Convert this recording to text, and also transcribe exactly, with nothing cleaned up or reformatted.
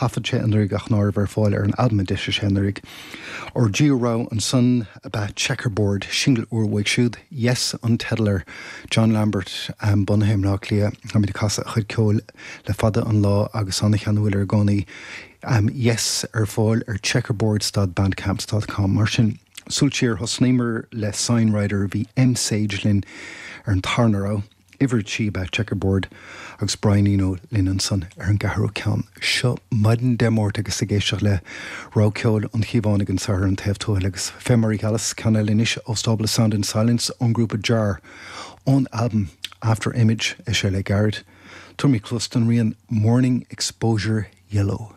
thaifead sé anuraidh ach ná raibh ar fáil ar an albam a d'eisigh sé anuraidh. Ár dtríú rogha ansan ab ea Checkerboard, singil úr uaidh siúd, Yes an teideal air. John Lambert um, bunaithe i mBleá Cliath, táimid ag casadh a chuid ceoil le fada an lá agus an-cheanúil air i gcónaí. Um, yes ar fáil ar checkerboard.bandcamp.com mar sin. Súil siar thosnaíomar le Sign Rider bhí M Sage linn ar an tarna rogha. Uimhir trí ab ea Checkerboard agus Brian Eno linn ansan ar an gceathrú ceann. Seo maidin Dé Máirt agus ag éisteacht le rogha ceoil an Chíobhánaigh anseo ar an Taobh Tuathail agus fé mar a gheallas ceann eile anois ó stábla Sound and Silence ón grúpa Jar ón album After Image é sé le gairid. Tabharfaimid cluas don rian Morning Exposure Yellow.